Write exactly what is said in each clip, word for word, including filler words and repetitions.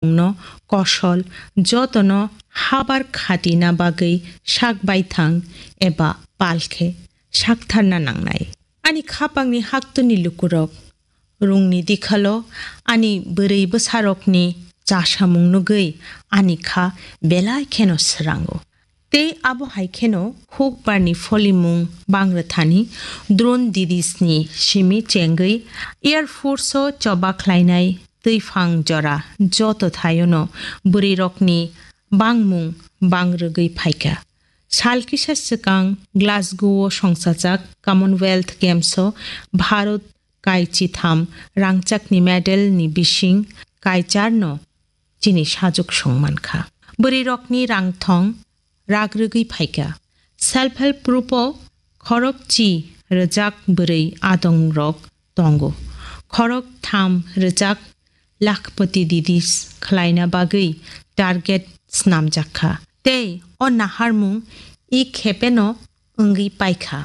no kosol jotono habar khatina bagwi sak baithang eba pal khe saktharna nangnai. Ani khapangni haktuni lukurok rungni dikhalo ani bwrwi bwsarokni chasamung nugwi ani kha belai kheno swrango. Tei abo hai kheno hukbarni pholimung bangrwthani drone didisni simi chengwi Air Force-o choba khlainai twiphang jora joto thaiono bwrwirokni bangmung bangrwgwi phaikha. Sal kisa swkang Glasgow-o songchajak Commonwealth Games-o Bharat kai chitham rangchakni medal-ni bising kai charno chini sajwk song mankha. Bwrwirokni rangthong ragrwgwi phaikha. Self help group-o khorok chi rwjak bwrwi adongrok tongo. Khorok tham rwjak lakhpati didis khlaina bagwi target snamjak kha. Tei o naharmung i khepeno wngwi paikha.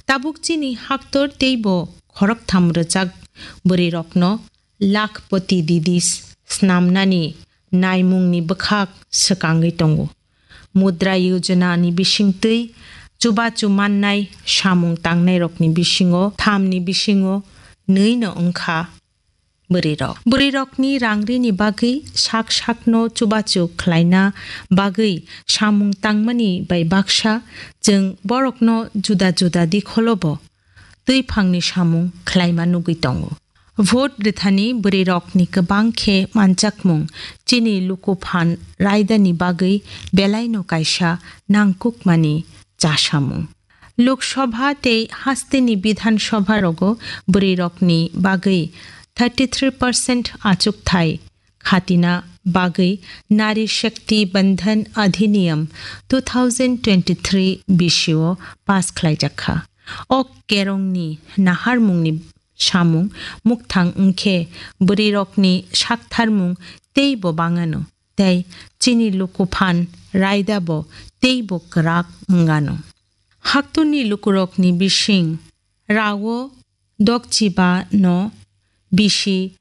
Tabuk chini haktor teibo khoroktham rwjak bwrwirokno lakhpati didis snamnani naimungni bwkhak swkangwi tongo. Mudra Yojana ni bisingtwi chubachu mannai samung tangnairokni bisingo thamni bisingo nwino wngkha bwrwirok. Bwrwirokni rangrini bagwi sak sakno chubachu khlaina bagwi samung tangmani bai baksa chwng borokno juda juda dikholobo twiphangni samung khlaima nugwi tongo. Vote rwthani bwrwirokni kwbang khe manjakmung chini luku phan raidani bagwi belaino kaisa nangkukmani chasamung. Lok Sabha tei hasteni Bidhan Sabha rogo bwrwirokni bagwi thirty three percent achukthai khatina bagwi Nari Shakti Bandhan Adhiniyam two thousand twenty-three bisio pass khlaijakha. O kerongni naharmungni samung mukthang wngkhe bwrwirokni saktharmung teibo bangano, tei chini luku phan raida bo teibo kwrak wngano. Haktorni lukurokni bising rao dokchiba no bisi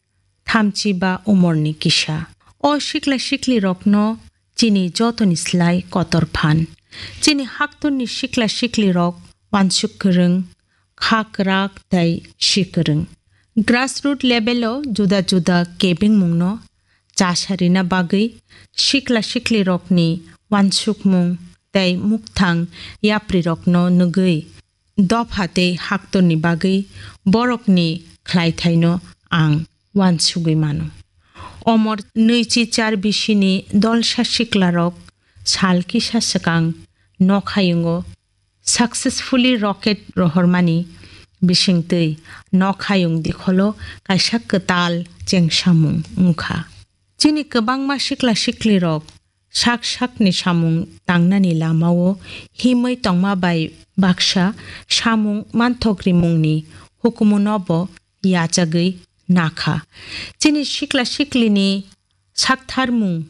thamchiba umorni kisa. O sikla siklirokno chini jotoni slai kotor phan. Chini haktorni sikla siklirok wansuk kwrwng, kha kwrak tei si kwrwng. Grassroot level-o juda juda kebengmungno chasarina bagwi sikla siklirokni wansukmung tei mukthang yaprirokno nugwi dopha tei haktorni bagwi borokni khlaithaino ang wansugwi mano. Omor nwichi char bisini dolsa siklarok sal kisa swkang nokhayungo successfully rocket rohormani bisingtwi nokhayung dikholo kaisa kwtal chengsamung wngkha. Chini kwbangma sikla siklirok sak sakni samung tangnani lamao himwi tongma bai baksa samung manthokrimungni hukumunobo yachagwi nakha. Chini sikla siklini saktharmung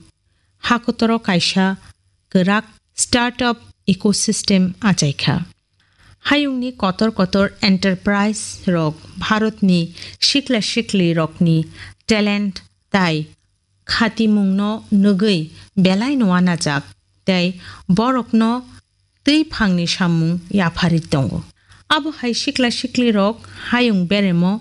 hakotoro kaisa kwrak startup ecosystem achaikha. Hayungni kotor kotor enterprise rok Bharatni sikla sikli rokni talent tai khatimungno nugwi belaino wanajak tei borokno twi phangni samung yapharwi tongo. Abo hai sikla siklirok hayung beremo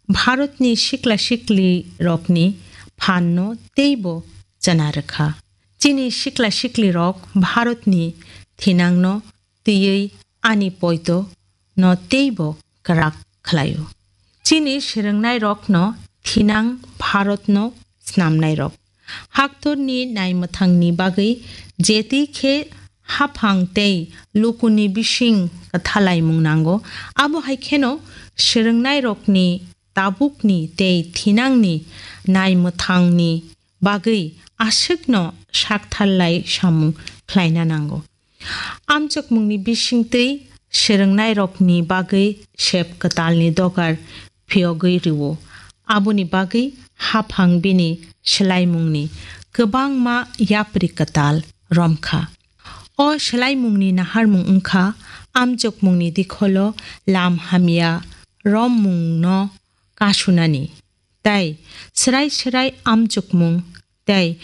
Bharatni sikla siklirokni phanno teibo chana rwkha. Chini sikla siklirok Bharatni thinangno twiwi ani poito no teibo kwrak khlaio. Chini swrwngnairokno thinang Bharatno snamnairok. Haktorni naimwthangni bagwi jeti khe haphang tei lukuni bising kwthalaimung nango, abo hai kheno swrwngnairokni tabukni tei thinangni naimwthangni bagwi aswkno saktharlai samung khlaina nango. Amchokmungni bisingtwi swrwngnairokni bagwi sep kwtalni dogar phiyogwi rwo. Aboni bagwi haphang bini swlaimungni kwbangma yapri kwtal romkha. O swlaimungni naharmung wngkha amchokmungni dikholo lam hamya rommungno kasunani. Tai swrai swrai amchukmung tei